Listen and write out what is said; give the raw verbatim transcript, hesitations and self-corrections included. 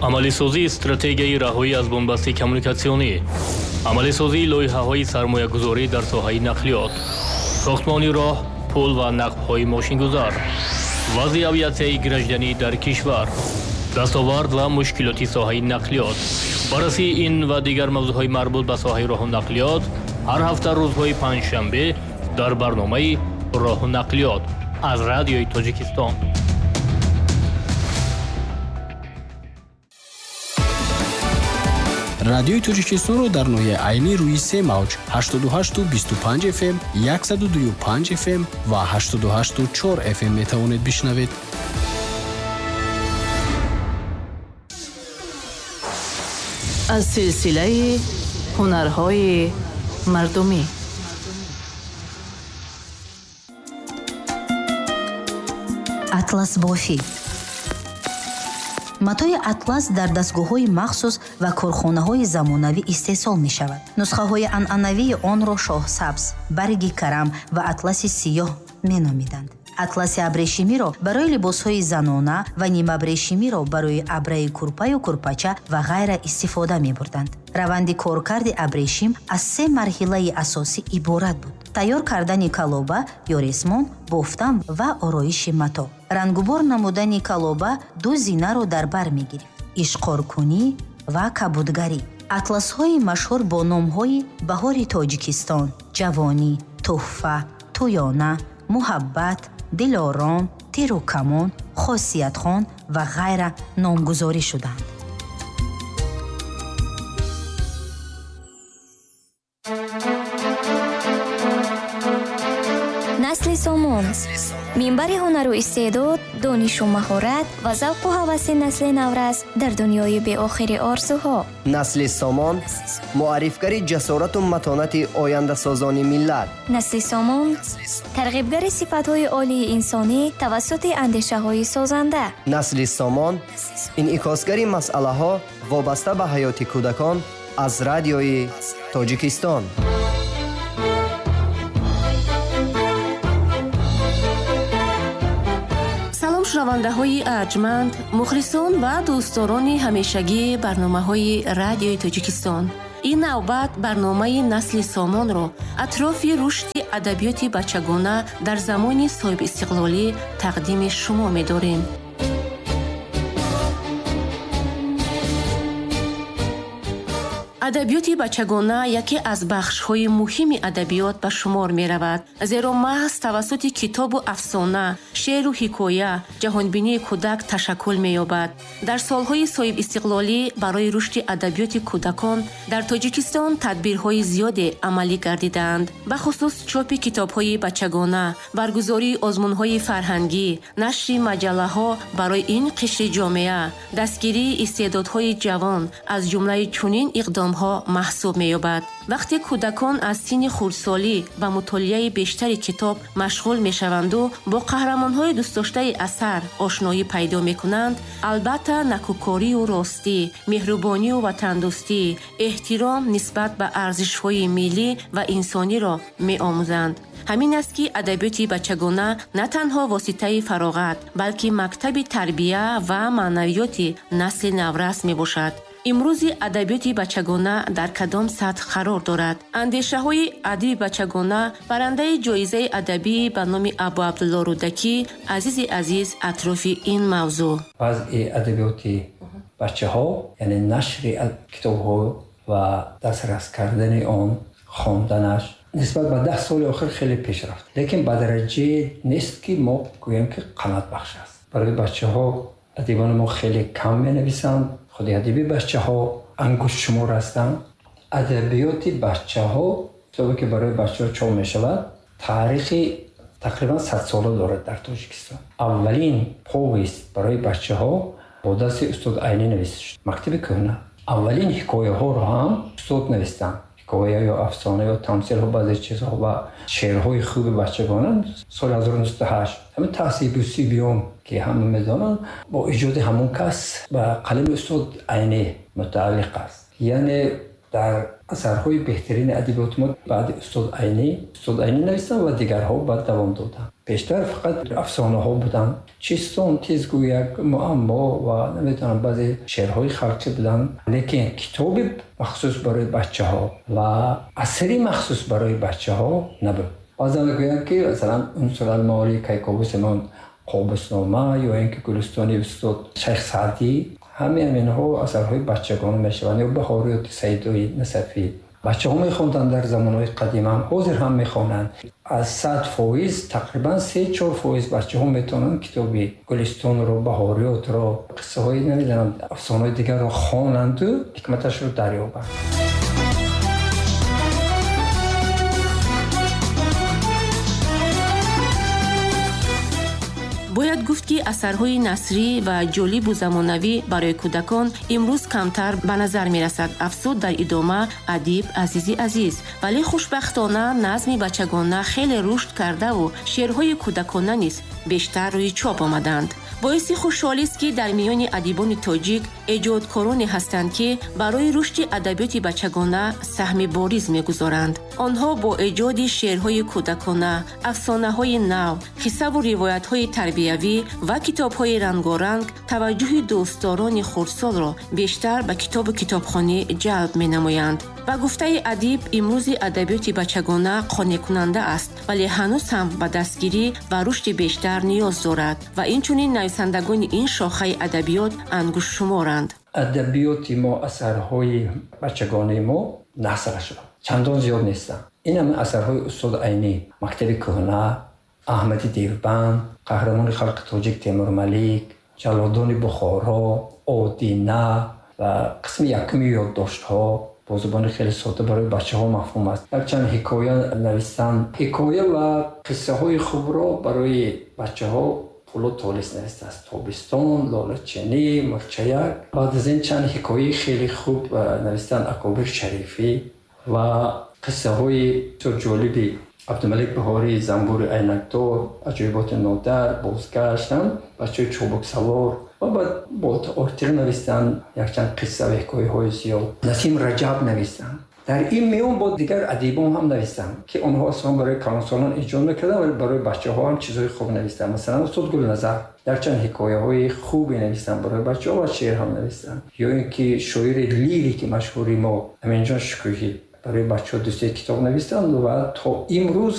Амалисозии стратегияи раҳоӣ аз бунбасти коммуникатсионӣ, амалисозии лоиҳаҳои сармоягузорӣ дар соҳаи нақлиёт, сохтмони роҳ, пул ва нақбҳои мошингузар, вазъи авиатсияи гражданӣ дар кишвар, дастовард ва мушкилоти соҳаи нақлиёт. Баррасии ин ва дигар мавзӯъҳои марбут ба соҳаи роҳу нақлиёт ҳар ҳафта рӯзҳои панҷшанбе дар барномаи роҳу нақлиёт аз Радиои Тоҷикистон. Радиои Тоҷикистонро дар ноҳияи Айнӣ рӯи се мавҷ ҳаштоду ҳашту бисту панҷ эф эм, яксаду дую панҷ эф эм ва ҳаштоду ҳашту чор эф эм метавонед бишнавед. Аз силсилаи ҳунарҳои мардумӣ. Атласбофӣ. Матои атлас дар дастгоҳҳои махсус ва корхонаҳои замонавӣ истеҳсол мешавад. Нусхаҳои анъанавии онро шоҳсабз, барги карам ва атласи сиёҳ меномиданд. Атласи абрешимиро барои либосҳои занона ва нимабрешимиро барои абраи курпаю курпача ва ғайра истифода мебурданд. Раванди коркарди абрешим аз се марҳилаи асосӣ иборат буд: тайёр кардани калоба ё ресмон, бофтан ва ороиши мато. Рангубор намудани калоба ду зинаро дар бар мегирифт: ишқоркунӣ ва кабудгарӣ. Атласҳои машҳур бо номҳои Баҳори Тоҷикистон, Ҷавонӣ, Туҳфа, Тӯёна, Муҳаббат, Дилором, Тиру камон, Хосиятхон ва ғайра номгузорӣ шуданд. Насли Сомон минбари ҳунару истеъдод, донишу маҳорат ва завқу ҳаваси насли наврас дар дунёи беохири орзуҳо. Насли Сомон муаррифгари ҷасорату матонати ояндасозони миллат. Насли Сомон тарғибгари сифатҳои олии инсонӣ тавассути андешаҳои созанда. Насли Сомон инъикосгари масъалаҳо вобаста ба ҳаёти кӯдакон аз Радиои Тоҷикистон. Шунавандаҳои арҷманд, мухлисон ва дӯстдорони ҳамешагии барномаҳои Радиои Тоҷикистон. Ин навбат барномаи Насли Сомонро атрофи рушди адабиёти бачагона дар замони соҳибистиқлолӣ тақдими шумо медорем. Адабиёти бачагона яке аз бахшҳои муҳими адабиёт ба шумор меравад, зеро маҳз тавассути китобу афсона, шеъру ҳикоя ҷаҳонбинии кӯдак ташаккул меёбад. Дар солҳои соҳибистиқлолӣ барои рушди адабиёти кӯдакон дар Тоҷикистон тадбирҳои зиёде амалӣ гардидаанд. Бахусус чопи китобҳои бачагона, баргузории озмунҳои фарҳангӣ, нашри маҷаллаҳо барои ин қишри ҷомеа, дастгирии истеъдодҳои ҷавон аз ҷумлаи чунин иқдомҳо маҳсуб меёбад. Вақте кӯдакон аз синни хурдсолӣ ба мутолиаи бештари китоб машғул мешаванду бо қаҳрамонҳои дӯстдоштаи асар ошноӣ пайдо мекунанд, албатта накӯкорию ростӣ, меҳрубонию ватандӯстӣ, эҳтиром нисбат ба арзишҳои миллӣ ва инсониро меомӯзанд. Ҳамин аст, ки адабиёти бачагона на танҳо воситаи фароғат, балки мактаби тарбия ва маънавиёти насли наврас мебошад. Имрӯзи адабиёти бачагона дар кадом сатҳ қарор дорад? Андешаҳои адиби бачагона, барандаи ҷоизаи адабӣ ба номи Абу Абдулло Рӯдакӣ, Азизи Азиз атрофи ин мавзӯъ. Вазъи адабиёти бачаҳо, яъне нашри китобҳо ва дастрас кардани он, хонданаш нисбат ба даҳ соли охир хеле пеш рафт, лекин ба дараҷае нест, ки мо гӯем, ки қаноатбахш аст. Барои бачаҳо адибони мо хеле кам менависанд. Худи адиби бачаҳо ангуштшумор ҳастанд. Адабиёти бачаҳо, китобе ки барои бачаҳо чоп мешавад, таърихи тақрибан садсола дорад дар Тоҷикистон. Аввалин повест барои бачаҳо бо дасти устод Айнӣ нависта шуд, мактаби кӯҳна. Аввалин ҳикояҳоро ҳам устод навистанд. Ҳикоя ё афсона ё тамсилҳо, баъзе чизҳо ва шеърҳои хуби бачагона соли ҳазору нӯҳсаду ҳашт ҳамин таҳсибу сибиён, ки ҳама медонанд, бо иҷоди ҳамон кас ба қалами устод Айнӣ мутааллиқ аст. Яъне дар Асарҳои беҳтарини адабиёти мо баъди устод Айнӣ, устод Айнӣ навиштанд ва дигарҳо баъд давом доданд. Пештар фақат афсонаҳо буданд. Чистон, тезгӯяк, муаммо ва намедонам баъзе шеърҳои халқӣ буданд. Лекин китоби махсус барои бачаҳо ва асари махсус барои бачаҳо набуд. Баъзан мегӯянд, ки масалан Унсуралмаорӣ, Кайковус Имон, Қобуснома ё ин ки Гулистони устод Шайх Саъдӣ, ҳамаи ҳаминҳо асарҳои бачагона мешаванд. Ё Баҳориёти Сайдои Насафӣ. Бачаҳо мехонданд дар замонҳои қадим ҳам, ҳозир ҳам мехонанд. Аз сад фоиз тақрибан се-чор фоиз бачаҳо метавонанд китоби Гулистонро, Баҳориётро, қиссаҳои намедонам афсонаҳои дигарро хонанду ҳикматашро дарёбанд. Бояд гуфт, ки асарҳои насрӣ ва ҷолибу замонавӣ барои кӯдакон имрӯз камтар ба назар мерасад, афзуд дар идома адиб Азизи Азиз. Вале хушбахтона назми бачагона хеле рушд кардаву шеърҳои кӯдакона низ бештар рӯи чоп омаданд. Боиси хушҳолист, ки дар миёни адибони тоҷик эҷодкороне ҳастанд, ки барои рушди адабиёти бачагона саҳми бориз мегузоранд. Онҳо бо эҷоди шеърҳои кӯдакона, афсонаҳои нав, қиссаву ривоятҳои тарбиявӣ ва китобҳои рангоранг таваҷҷӯҳи дӯстдорони хурдсолро бештар ба китобу китобхонӣ ҷалб менамоянд. Ба гуфтаи адиб, имрӯзи адабиёти бачагона қонеъкунанда аст, вале ҳанӯз ҳам ба дастгирӣ ва рушди бештар ниёз дорад ва инчунин нависандагони ин шохаи адабиёт ангуштшуморанд. Адабиёти мо, асарҳои бачагонаи мо насрашро чандон зиёд нестанд. Ин ҳама асарҳои устод Айнӣ, мактаби кӯҳна, Аҳмади Девбанд, қаҳрамони халқи тоҷик Темурмалик, Ҷаллодони Бухоро, Одина ва қисми якуми ёддоштҳо бо забони хеле сода барои бачаҳо мафҳум аст. Якчанд ҳикоя навистанд. Ҳикоя ва қиссаҳои хубро барои бачаҳо Пулод Толис навистааст. Тобистон, Лолачинӣ, Мурчаяк. Баъд аз ин чанд ҳикояи хеле хуб навистанд Акобир Шарифӣ ва қиссаҳои бисёр ҷолиби Абдумалик Баҳорӣ, Занбури айнакдор, Аҷоиботи нодар, Бозгашт, бачаҳои чобуксавор ва баъд Ортиқ навистанд якчанд қисса ва ҳикояҳои зиёд. Насим Раҷаб навистанд. Дар ин миён бо дигар адибон ҳам навистанд, ки онҳо аслан барои калонсолон эҷод мекарданд, вале барои бачаҳо ҳам чизҳои хуб навистанд. Масалан, устод Гулназар якчанд ҳикояҳои хубе навистанд барои бачаҳо ва шеър ҳам навистанд. Ё ин ки шоири лирики машҳури мо Аминҷон Шукӯҳӣ барои бачаҳо ду се китоб навистанд ва то имрӯз